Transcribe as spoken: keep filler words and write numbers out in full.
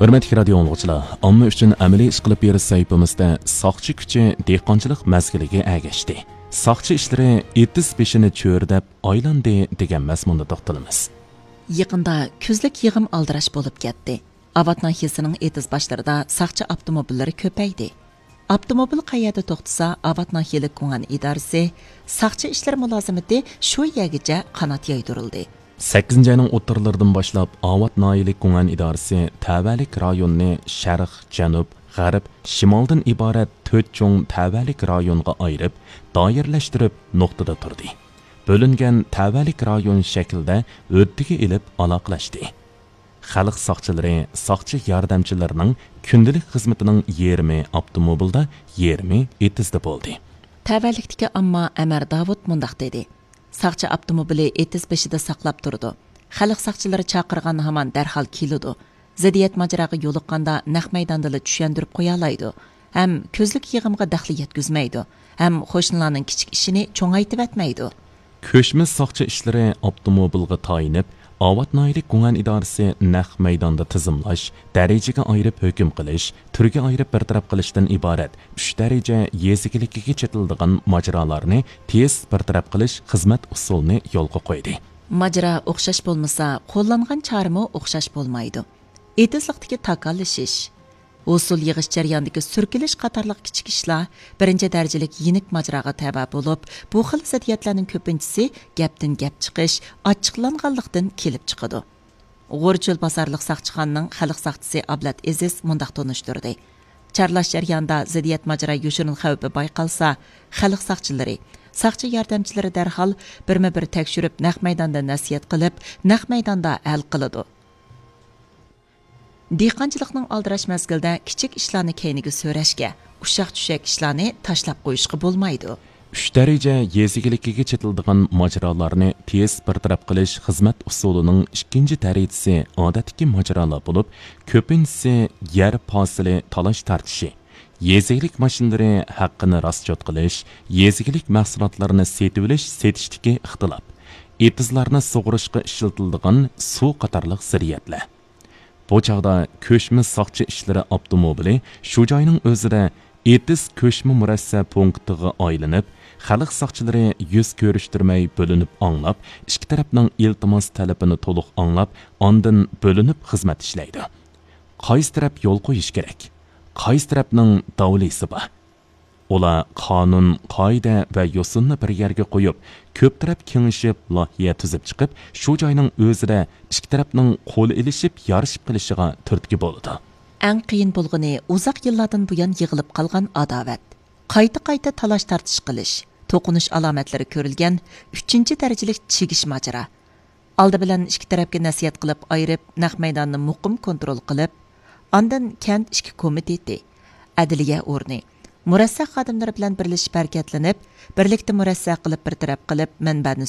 ھۆرمەتلىك رادىيو ئاڭلىغۇچىلار، ئامما ئۈچۈن ئەمەلىي ئىش قىلىپ بېرىش سەھىپىمىزدە ساقچى كۈچى دېھقانچىلىق مەزگىلىگە ئەگەشتى. ساقچى ئىشلىرى ئېتىز بېشىنى چۆرىدەپ ئايلاندى دېگەن مەزمۇندا توختىلىمىز. يېقىندا كۈزلۈك يىغىم ئالدىراش بولۇپ كەتتى. ئاۋات ناھىيەسىنىڭ ئېتىز باشلىرىدا ساقچى ئاپتوموبىللىرى كۆپەيدى. ئاپتوموبىل قەيەردە توختىسا، ئاۋات ناھىيەلىك گۇڭئەن ئىدارىسى ساقچى ئىشلىرى مۇلازىمىتى شۇ يەرگىچە قانات يايدۇرۇلدى. سەككىزىنچى ئاينىڭ ئوتتۇرىلىرىدىن باشلاپ ئاۋات ناھىيەلىك گۇڭئەن ئىدارىسى تەۋەلىك رايوننى شەرق، جەنۇب، غەرب، شىمالدىن ئىبارەت تۆت چوڭ تەۋەلىك رايونغا ئايرىپ، دائىرىلەشتۈرۈپ نۇقتىدا تۇردى. بۆلۈنگەن تەۋەلىك رايون شەكلىدە ھۆددىگە ئېلىپ ئالاقىلەشتى. خەلق ساقچىلىرى ساقچى ياردەمچىلىرىنىڭ كۈندىلىك خىزمىتىنىڭ يېرىمى ئاپتوموبىلدا، يېرىمى ئېتىزدا بولدى. تەۋەلىكتىكى ئامما ئەمەر داۋۇت مۇنداق دېدى: ساقچى ئاپتوموبىلى ئېتىز بېشىدا ساقلاپ تۇرىدۇ. خەلق ساقچىلىرى چاقىرغان ھامان دەرھال كېلىدۇ. زىددىيەت ماجىراغا يولۇققاندا نەق مەيداندىلا چۈشەندۈرۈپ قويالايدۇ. ھەم كۈزلۈك يىغىمغا دەخلى يەتكۈزمەيدۇ. ھەم قوشنىلارنىڭ كىچىك ئىشىنى چوڭايتىۋەتمەيدۇ. كۆچمە ساقچى ئىشلىرى ئاپتوموبىلغا تايىنىپ، ئاۋات ناھىيەلىك گۇڭئەن ئىدارىسى نەق مەيداندا تىزىملاش، دەرىجىگە ئايرىپ ھۆكۈم قىلىش، تۈرگە ئايرىپ بىر تەرەپ قىلىشتىن ئىبارەت ئۈچ دەرىجە يېزا ئىگىلىكىگە چېتىلىدىغان ماجىرالارنى تېز بىر تەرەپ قىلىش خىزمەت ئۇسۇلىنى يولغا قويدى. ماجىرا ئوخشاش بولمىسا، قوللانغان چارىمۇ ئوخشاش بولمايدۇ. ئېتىزلىقتىكى تاكاللىشىش، ھوسۇل يىغىش جەريانىدىكى سۈركىلىش قاتارلىق كىچىك ئىشلار بىرىنچى دەرىجىلىك يېنىك ماجىراغا تەۋە بولۇپ، بۇ خىل زىددىيەتلەرنىڭ كۆپىنچىسى گەپتىن گەپ چىقىش، ئاچچىقلانغانلىقتىن كېلىپ چىقىدۇ. غورچۆل بازارلىق ساقچىخانىنىڭ خەلق ساقچىسى ئابلەت ئېزىز مۇنداق تونۇشتۇردى: چارلاش جەريانىدا زىددىيەت ماجىرا يوشۇرۇن خەۋپى بايقالسا، خەلق ساقچىلىرى، ساقچى ياردەمچىلىرى دەرھال بىرمۇ بىر تەكشۈرۈپ، نەق مەيداندا نەسىھەت قىلىپ، نەق مەيداندا ھەل قىلىدۇ. دېھقانچىلىقنىڭ ئالدىراش مەزگىلدە كىچىك ئىشلارنى كەينىگە سۆرەشكە، ئۇششاق-چۈششەك ئىشلارنى تاشلاپ قويۇشقا بولمايدۇ. ئۈچ دەرىجە يېزا ئىگىلىكىگە چېتىلىدىغان ماجىرالارنى تېز بىر تەرەپ قىلىش خىزمەت ئۇسۇلىنىڭ ئىككىنچى دەرىجىسى ئادەتتىكى ماجىرالار بولۇپ، كۆپىنچىسى يەر پاسىلى تالاش تارتىشى، يېزا ئىگىلىك ماشىنىلىرى ھەققىنى راسچوت قىلىش، يېزا ئىگىلىك مەھسۇلاتلىرىنى سېتىۋېلىش، سېتىشتىكى ئىختىلاپ، ئېتىزلارنى سۇغىرىشقا ئىشلىتىلىدىغان سۇ قاتارلىق زىددىيەتلەر. بۇ چاغدا كۆچمە ساقچى ئىشلىرى ئاپتوموبىلى شۇ جاينىڭ ئۆزىدە ئېتىز كۆچمە مۇرەسسە پونكىتىغا ئايلىنىپ، خەلق ساقچىلىرى يۈز كۆرۈشتۈرمەي بۆلۈنۈپ ئاڭلاپ، ئىككى تەرەپنىڭ ئىلتىماس تەلىپىنى تولۇق ئاڭلاپ، ئاندىن بۆلۈنۈپ خىزمەت ئىشلەيدۇ. قايسى تەرەپ يول قويۇش كېرەك؟ قايسى تەرەپنىڭ داۋلىسى بار؟ ئۇلار قانۇن، قائىدە ۋە يوسۇننى بىر يەرگە قويۇپ، كۆپ تەرەپ كېڭىشىپ، لايىھە تۈزۈپ چىقىپ، شۇ جاينىڭ ئۆزىدە ئىككى تەرەپنىڭ قول ئېلىشىپ، يارىشىپ قېلىشىغا تۈرتكە بولىدۇ. ئەڭ قىيىن بولغىنى ئۇزاق يىللاردىن بۇيان يىغىلىپ قالغان ئاداۋەت. قايتا-قايتا تالاش-تارتىش قىلىش، توقۇنۇش ئالامەتلىرى كۆرۈلگەن ئۈچىنچى دەرىجىلىك چىگىش ماجىرا. ئالدى بىلەن ئىككى تەرەپكە نەسىھەت قىلىپ ئايرىپ، نەق مەيداننى مۇقىم كونترول قىلىپ، ئاندىن كەنت ئىچكى كومىتېتى، ئەدلىيە ئورنى، مۇرەسسە خادىملىرى بىلەن بىرلىشىپ ھەرىكەتلىنىپ، بىرلىكتە مۇرەسسە قىلىپ بىر تەرەپ قىلىپ، مەنبەنى